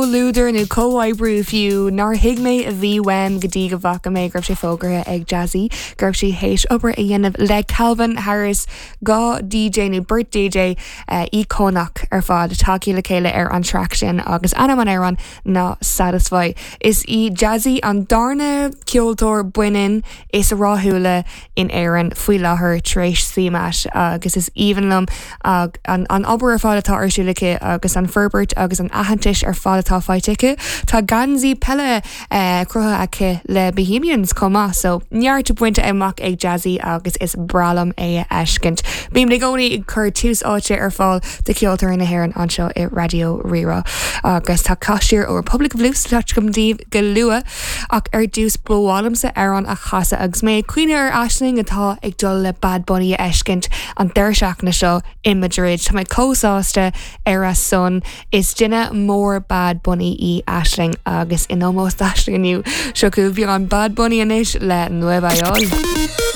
comhluadar nó comhoibriú fiú nár thuig mé a bhí uaim go dtí go bhfaca mé go raibh sé fógartha ag Jazzy go raibh sí théis obair a dhéanamh le Calvin Harris, 2 DJ nó beirt DJ íocónach ar fad tagtha le chéile ar an traic sin agus ainm an amhráin ná Satisfy. Is í Jazzy an darna ceoltóir baineann is rathúla in Éirinn faoi láthair tar éis CMAT agus is aoibhinn liom an obair ar fad atá ar siúl aici agus an forbairt agus an aitheantais ar fad atá faighte aici. Tá geansaí peile cruthaithe aici le Bohemians chomh maith so neart bainte amach ag Jazzy agus is breá liom é a fheiscint. Bím i gcónaí ag cur tús áite ar fáil do cheoltóirí na hÉireann anseo i Raidió Rí-Rá agus tá cath siar ó Republic of Loose le cloisteáil agam daoibh go luath. Ach ar dtús ba mhaith liomsa amhrán a chasadh agus mé ag cuimhneamh ar Aisling atá ag dul le Bad Bunny a fheiscint an deireadh seachtaine seo i Madrid. Tá mé chomh sásta ar a son. Is duine mór Bad Bunny í Aisling agus in ómós d'Aisling inniu, seo chugaibh beagán Bad Bunny anois le Nuevayol.